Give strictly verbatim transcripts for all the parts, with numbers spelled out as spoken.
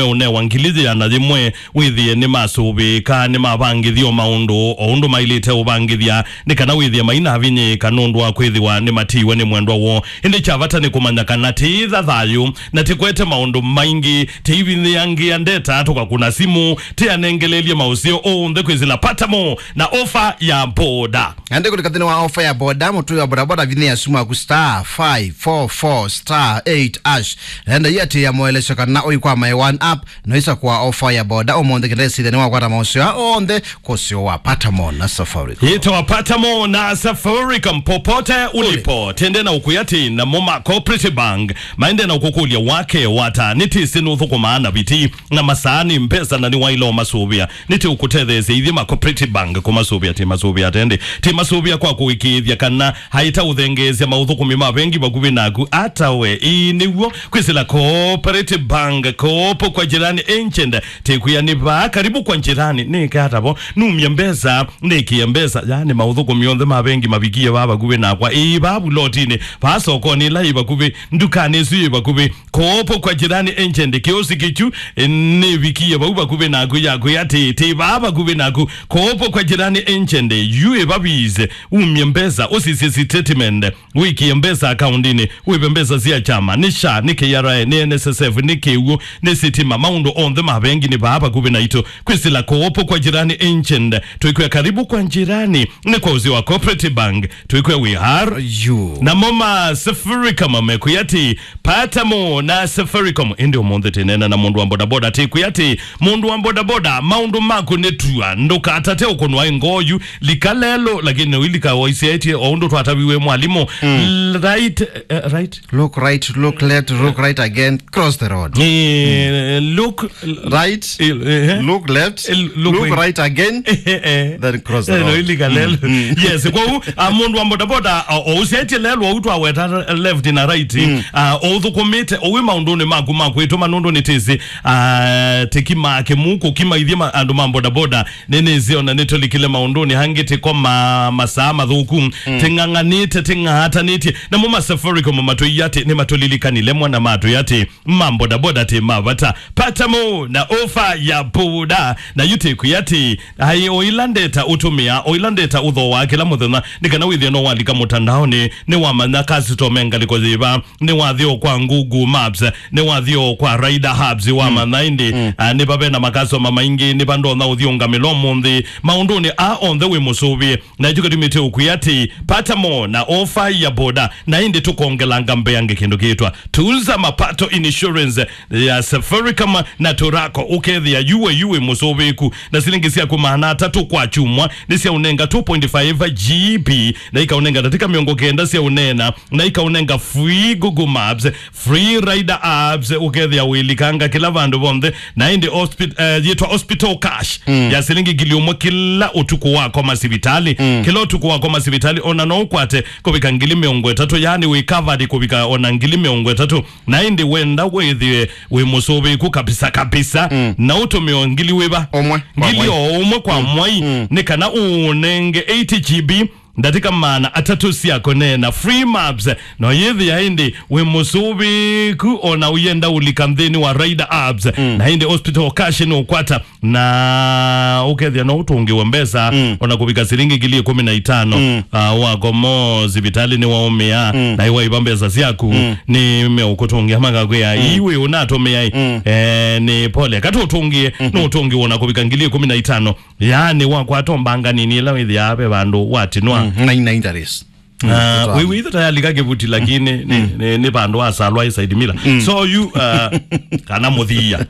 meũnewa ngili yĩana yĩmwe, wĩthĩe nĩmasũvĩĩka, nĩmavangĩthya o maũndũ o ũndũ maĩlĩte ũvangĩthya, nĩ kana wĩthĩe mainavinyĩĩka nũndũ wa kwĩthĩwa nĩmatiiwe nĩ mwendwa woo. Ĩndĩ kya vata nĩ kũmanya kana tĩitha thayũ, na tĩkwete maũndũ maingĩ, tĩivinyĩangĩa ndeta, tũkakũna simũ, tĩanengelelye maũseo onthe kwĩsĩla Patamo na ofa ya boda. Ende kũlika nthĩnĩ wa ofa ya boda, mũtũi wa bodaboda vinyĩa simu yaku star five four four star eight hash. Enda iatĩĩa moelesyo kana ũikwama ĩ one app, no isakũa ofa ya boda ũmũnthĩ kĩndesithya nĩwakwata maũseo onthe kũseo wa Patamo na Safaricom. Yĩtawa Patamo na Safaricom, popote ulipo. Tende na ũkwĩa atĩ namo ma Cooperative Bank maende na ũkũkũlya wake wata nĩ tĩsĩ nũthũkũmaa na viti na masaa nĩ mbesa na nĩwaĩle ũmasũvĩa. Nĩtĩ ũkũtetheesya ithyĩ ma Cooperative Bank kũmasũvĩa, tĩ masũvĩa tende, tĩ masũvĩa kwa kũĩkĩĩthya kana haita ũthengeesya maũthũkũmi ma vengi vakuvĩ naku ata we. Ĩĩ nĩw'o, kwĩsĩla Cooperative Bank, kopo kwa jirani agent, tĩkwĩa nĩ vaa karibu kwa jirani, nĩke ata vo, numye mbesa, nĩkĩe mbesa, yani maũthũkũmi onthe ma vengi mavikie vaa vakuvĩ nakwa, ĩĩ vaa vulotinĩ, vaa sokonĩ ĩla yĩ vakuvĩ, ndukanĩ ĩsu yĩ vakuvĩ, kopo kwa jirani agent, kĩosi kĩkyu, eh, nĩvikie vau vakuvĩ naku, yakwĩa atĩ, tĩ vaa vakuvĩ naku, kopo kwa jirani agent, yu ĩvavise, umye mbesa, ũsisye statement, wĩkĩe mbesa akaundinĩ, wĩve mbesa sya kyama, nĩ SHA, nĩ KRA, nĩ NSSF, nĩ kĩw'ũ, nĩ sitima, maũndũ onthe ma vengi nĩ vaa vakuvĩ naitũ. Kwĩsĩla kopo kwa jirani agent, twĩkwĩa karibu kwa jirani, nĩ kwa ũsĩ wa Cooperative Bank, twĩkwĩa we are you. Namo ma Safaricom mekwĩa atĩ, Patamo na Safaricom. Ĩndĩ ũmũnthĩ tĩneena na mũndũ wa bodaboda, tĩkwĩa atĩ, mũndũ wa bodaboda, maũndũ maku nĩ tua, ndũkatate ũkũnwa ngoo yu, lika lelũ, lakini ũilika waisyaĩtye o ũndũ twataviwe mwalimũ. Mm. L-, right, eh, right? Look right, look left, look right again, cross the road. Eh, look Right. Eh, eh. Look left. Eh, look Look right. Right again. Eh, eh. Then cross the Eh, no, road. Ilika lelũ. Mm, mm. Yes, kwa u, a, mũndũ wa bodaboda, o, o ũsyaĩtye lelũ, o u twaweta left na right. Mm. A, o ũthũkũmĩte, o wĩ maũndũnĩ maku ma kwĩtũma nũndũ nĩ tĩsĩ, a, tĩkima kĩmũkũ, kima ithyĩ ma, andũ ma bodaboda, nĩnĩsĩ ona nĩtũlikile maũndũnĩ hangĩ tĩkoma masaa mathũku, mm, tĩng'ang'anĩte, tĩng'atanĩtye. Namo ma Safaricom matwĩie atĩ nĩmatũlilikanile mwana matwĩa atĩ ma bodaboda tĩ ma vata. Patamo na ofa ya boda. Na yu tĩkwĩa atĩ, aĩ o ĩla ndeta ũtũmĩa, o ĩla ndeta ũthooaa kĩla mũthenya, nĩ kana wĩthĩe no walika mũtandaonĩ, nĩwamanya customer ngalĩko yĩva, nĩwathi o kwa Google Maps, nĩwathi o kwa Rider Hubs, wamanya ĩndĩ, mm, ah, nĩva ve na makasoma maingĩ, nĩva ndonya ũthi ũngamĩla ũmũnthĩ. Maũndũnĩ aa onthe wĩ mũsũvĩe, na ĩkyo kĩtumĩte ũkwĩa atĩ, Patamo na ofa ya boda, na ĩndĩ tũkongelanga mbeange kĩndũ kĩtwa Tuza Mapato Insurance ya Safaricom na Turaco, ũkethĩa yu we yu wĩ mũsũvĩku, na silingi syaku maana atatũ kwa kyumwa nĩ sya ũnenga two point five G B, na ikaũnenga ndatĩka mĩongo kenda sya ũneena, na ikaũnenga free Google Maps, free Rider Apps, ũkethĩa wĩlikanga kĩla vandũ vonthe, na ĩndĩ hospi-, eh, yĩtwa Hospital Cash, mm, ya silingi ngili ũmwe kĩla ũtukũ wakoma sivitalĩ. Mm. Kĩla ũtukũ wakoma sivitalĩ, ona no ũkwate kũvika ngili mĩongo ĩtatũ, yani wĩ covered kũvika ona ngili mĩongo ĩtatũ. Na ĩndĩ wenda wĩthĩwe wĩ mũsũvĩku kabisa kabisa, mm, na ũtũmĩo ngili wĩva? Ũmwe kwa mwai. Ngili o ũmwe kwa mwai, mm, nĩ kana ũũnenge eighty G B, ndatĩka maana atatũ sya kũneena, free maps. No yĩthĩa ĩndĩ wĩ mũsũvĩku, ona ũyenda ũlika nthĩnĩ wa Rider Apps, mm, na ĩndĩ Hospital Cash nĩ ũkwata, na ũkethĩa no ũtũngĩwe mbesa, mm, ona kũvika silingi ngili ĩkũmi na itano, mm, ah, wakomo sivitalĩ nĩwaũmĩa, mm, na iwaiva mbesa syaku, mm, nĩ meũkũtũngĩa makakwĩa, mm, iwe ũnatũmĩa, mm, eh, nĩ pole. Katũtũngĩe, mm-hmm, no ũtũngĩwe ona kũvika ngili ĩkũmi na itano. Yaani wakwata mbanga nini ĩla wĩthĩaa ve vandũ watinwa. Mm, na ina interest. Ah, mm, wĩw'ĩ itho tayalika kĩvuti, lakini nĩ, mm, nĩ, nĩ vandũ wasalwa ĩ side mila. Mm. So you, uh, kana mũthia.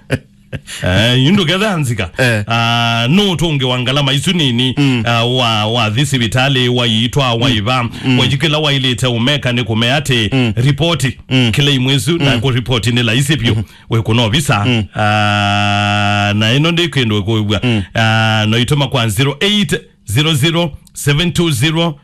Eh, yu ndũketha nzika. Eh. Ah, no ũtũngĩ wa ngalama isu nini, mm, ah, wa, wa thi sivitalĩ, waitwa, mm, waiva, mm, wajikĩla wailĩte ũmeka nĩ kũmea atĩ, mm, ripoti, mm, kĩla imwe isu, na, mm, kũ ripoti nĩ laisi vyũ. Mm-hmm. Wĩkũna ovisa. Mm. Ah, na ĩno ndĩ kĩndũ ĩkũĩw'a. Mm. Ah, no itũma kwa zero eight zero zero seven two zero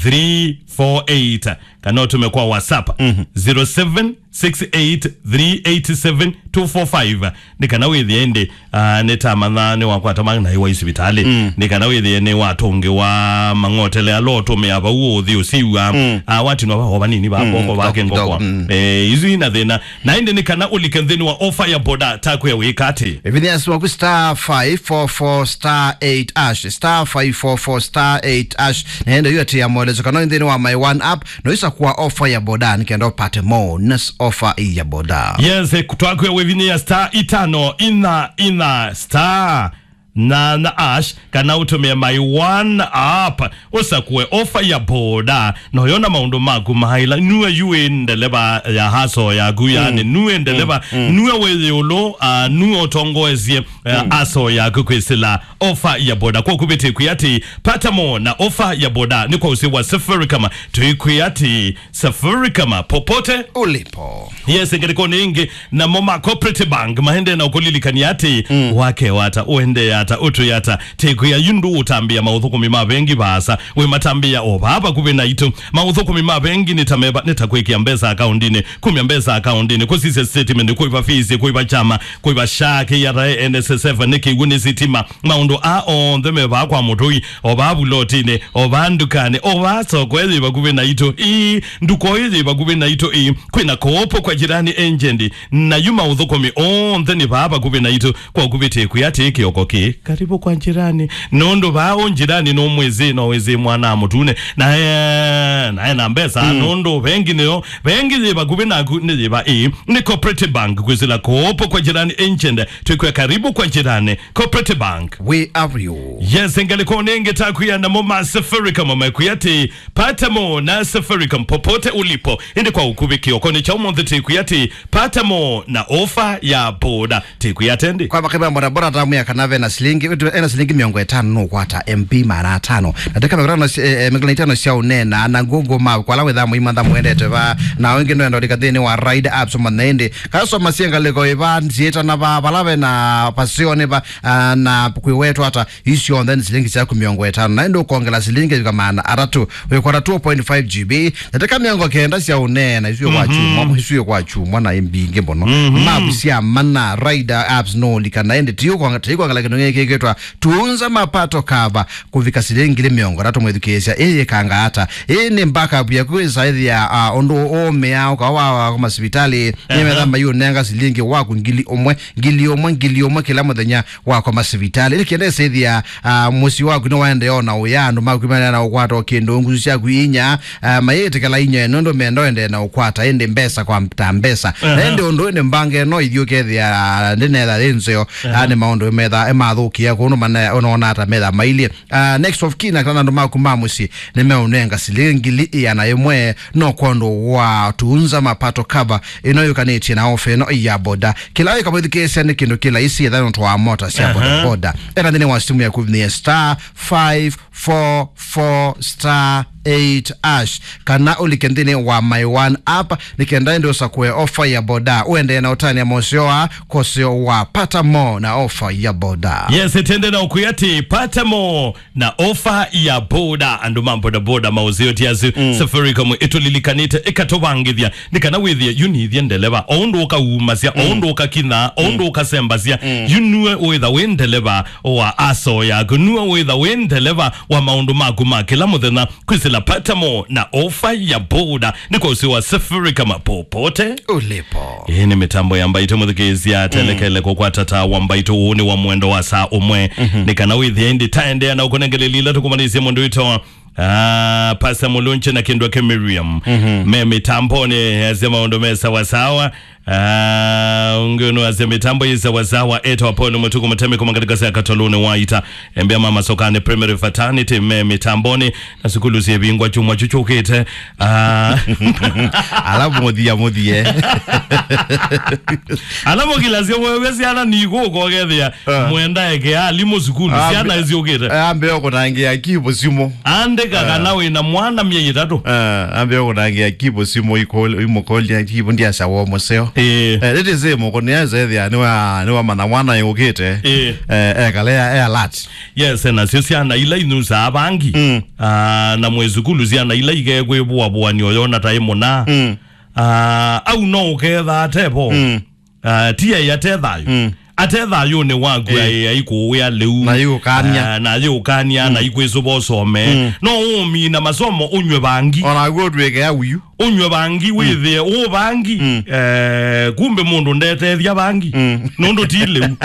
three four eight, kana ũtũme kwa WhatsApp, mhm, zero seven six eight three eight seven two four five. Nĩ kana wĩthĩe ĩndĩ, ah, nĩtamanya nĩwakwata maĩ na iwa isivitalĩ. Mm. Nĩ kana wĩthĩe nĩwatũngĩwa mang'otele ala ũtũmĩa vau ũthi ũsiw'a. Mm. Ah, watinwa vao vanini va, mm, koko vake kidogo, ngokwa, kidogo, mm. Eh, isu ina thĩna. Na ĩndĩ nĩ kana ũlike nthĩnĩ wa ofa ya boda, takwĩa wĩka atĩ. Ĩvinya simu yaku star five four four star eight hash, star five four four star eight hash. Na ĩndĩ yu atĩ ya moelezo kana nthĩnĩ wa My One app, no isa kwa ofa ya boda, nĩ kenda ũpate bonus ofa ya boda. Yes, eh, twakwĩa wĩvinya ya star itano ina ina star na na hash, kana ũtũmĩe My One app, ũsakũe ofa ya boda, na ũyona maũndũ maku maĩla. Nue yu wĩ ndeleva ya haso yaku, yani, mm, nue ndeleva, mm, mm, nue wĩ ĩũlũ, ah, nue ũtongoesye, eh, mm, haso yaku kwĩsĩla ofa ya boda. Kwa kuvĩtĩkwĩ atĩ, pata mo na ofa ya boda nĩ kwa ũsĩ wa Safaricom. Tũikwĩ atĩ, Safaricom, popote ulipo. Yes, ngalĩkonĩ ĩngĩ, namo ma Cooperative Bank maendee na ũkũlilikania atĩ, mm, wake wata, ũendee ata, ũtwĩ ata, tĩkwĩa yu ndũũtambĩa maũthũkũmi ma vengi vaasa, wĩmatambĩa o vaa vakuvĩ naitũ. Maũthũkũmi ma vengi nĩ ta meva, nĩ ta kwĩkĩa mbesa akaundinĩ, kumya mbesa akaundinĩ, kũsisya statement, kũiva fees, kũiva chama, kũiva SHA, K R A, N S S F, nĩ kĩw'ũ, nĩ sitima, maũndũ aa onthe me vaa kwa mũtũi, o vaa vulotinĩ, o vaa ndukanĩ, o vaa soko ĩyĩ vakuvĩ naitũ. Ĩĩ, nduka ĩyĩ yĩ vakuvĩ naitũ. Ĩĩ, kwĩna Koopo kwa Jirani Agent, na yu maũthũkũmi onthe nĩ vaa vakuvĩ naitũ. Kwa kuvĩtĩkwĩ atĩ kĩoko kĩ karibu kwa jirani, nũndũ vaa ũ jirani nũmwĩsĩ, no wĩsĩ mwana mũtune, na e, na ena mbesa, mm, nũndũ vengi nĩyo, vengi yĩ vakuvĩ naku nĩ yĩva? Ĩĩ, nĩ Cooperative Bank, kwĩsĩla Koopo kwa Jirani Agent, twĩkwĩa karibu kwa jirani. Cooperative Bank. We are you. Yes, ngalĩkonĩ ĩngĩ takwĩa namo ma Safaricom mekwĩa atĩ, pata mo na Safaricom popote ulipo. Ĩndĩ kwa ũkuvĩ kĩokonĩ kya ũmũnthĩ tĩkwĩa atĩ, pata mo na ofa ya boda. Tĩkwĩa atĩ ĩndĩ. Kwa makĩmya bodaboda tamwĩa kana ve na silingi, ena silingi mĩongo ĩtano nũkwata M B maana atano. Na teka mĩongo ĩtano si-, eh, eh, mĩongo ĩtano sya ũneena, na Google Map, kwa ala wĩthaa mũimantha mũendete va, na wengĩ nũenda ũlika nthĩnĩ wa Ride Apps ũmanya ĩndĩ. Kasoma syengalĩko ĩva, nziĩtana va, vala ve na pasioni va, ah, na kwĩwetwa ata, isu syonthe nĩ silingi syaku mĩongo ĩtano. Na ĩndĩ ũkongela silingi ĩvika maana atatũ, wĩkwata two point five G B, na teka mĩongo kenda sya ũneena, isu kwa, mhm, chumwa, isu kwa chumwa na mbingĩ mũno. Mhm. Mapu sya mana, Ride Apps no ũlika, na ĩndĩ ti ũkwanga-, ti kwangala kĩndũ gĩkĩ kĩtwa Tunza Mapato Cover, kũvika silingi ngili mĩongo ĩtatũ mwĩthukĩĩsya. Ĩĩ yĩkanga ata? Ĩĩ nĩ backup yaku ĩsaĩthĩa, ah, ũndũ ũũmĩa ũkawa wa, wa, wa masivitalĩ, nĩmetha, aha, maiũnenga silingi waku ngili ũmwe, ngili ũmwe, ngili ũmwe kĩla mũthenya wakoma sivitalĩ. Ĩndĩ kĩenda ĩsĩthĩa, ah, mũsyĩ waku nĩwaendeea na ũya, andũ maku maendeea na ũkwata o kĩndũ, ngusu syaku inya, ah, mayĩtĩkĩla inya nũndũ menda ũendee na ũkwata ĩndĩ mbesa kwa ta mbesa. Aha. Na ĩndĩ ũndũ ĩndĩ mbanga ĩno ithyĩ ũkethĩa, ah, ndĩnetha yĩ nzeo, aha, ah, nĩ maũndũ metha ĩmathũkĩa kũndũ mana ũnona ata metha mailyĩ. Ah, next of kin, kana andũ maku ma mũsyĩ nĩmeũnenga silingi ngili ĩana ĩmwe no kwondũ wa Tunza Mapato Cover ĩno yũkanĩtye na ofa ĩno ya boda. Kĩla wĩka mwĩthukĩĩsya nĩ kĩndũ kĩ laisi, ethĩwa nũtwaa mota sya, aha, boda boda. Enda nthĩnĩ wa simu yaku nĩ star five four four star eight hash, kana ũlike nthĩnĩ wa My One app, nĩ kenda ĩndĩ ũsakũe ofa ya boda. Ũendee na ũtania moseo aa, koseo wa pata mo na ofa ya boda. Yes, tende na ũkwĩa atĩ pata mo na ofa ya boda, andũ ma bodaboda maũseo ti asu. Mm. Safaricom ĩtũlilikanĩte, ĩkatũvangĩthya, nĩ kana wĩthĩe yu nĩthyĩ ndeleva, o ũndũ ũkaumasya, o, mm, ũndũ ũkakinaa, o, mm, ũndũ ũkasembasya, mm, yu nue wĩtha wĩ ndeleva wa aso yaku, nue wĩtha wĩ ndeleva wa maũndũ maku ma kĩla mũthenya, kwĩsĩla pata mo na ofa ya boda, nĩ kwa ũsĩ wa Safaricom popote ulipo. Ĩĩ nĩ mĩtambo ya Mbaitũ mũthikĩĩsya, mm, telekele kũkwata ta wa Mbaitũ ũũ nĩ wa mwendo wa saa ũmwe. Mhm. Nĩ kana wĩthĩe ĩndĩ taendeea na ũkũnengeleli ila tũkũmanĩsye mũndũ witũ, ah, Pastor Mulunche na Kindwa ke Miriam. Mhm. Me mĩtambonĩ, asya maũndũ me sawasawa. Ah, ũngĩ ũnũ asya mĩtambo yĩ sawasawa, etwa Paul Mũtuku Mũtemi kuma katika sya Katoluni wa Ita. Embea mama Sokane Primary Fraternity me mĩtambonĩ. Na sukulu syĩvingwa kyumwa kyu kyũkĩte. Ah. Ala mũthia mũthie. Ala mũkilasya wewe syana nĩkũkokethĩa. Ah. Mwenda eke alimũ sukulu, ah, syana mbe-, syũkĩte. Ah, mbeo kũnangĩa kivu simũ. Ande Ĩka kana wĩ na mwana myei ĩtatũ. Eh, ambĩa kũnangia Kibo simũ ikũl-, imũkũlya Kibo ndiasya woo mũseo. Ĩĩ. Eh, rĩtĩ sĩ mũkũnĩa ĩsethĩa nĩwa-, nĩwamanya mwana yũkĩte. Ĩĩ. Eh, ekale ya, e alert. Yes, nasyo syana ila inyusaa vangi. Mm. Ah, na mwĩ sukulu syana ila ikekwĩvũavũanio yona ta ĩmũna. Mm. Ah, au no ũketha atevo. Mm. Ah, ti ai ate thayũ. Mm. Ate thayũnĩ waku. Eh. Ai, aikũwĩa lĩu. Na yũkania. Ah, na yũkania, na ikwĩsũva ũsome. Mm. No ũmina masomo ũnywe vangi. Ona guo ndwĩke ya uyu. Ũnywe vangi, wĩthĩe ũ vangi. Mm. Eh, kumbe mũndũ ndetethya vangi. Mm. Nũndũ ti lĩu.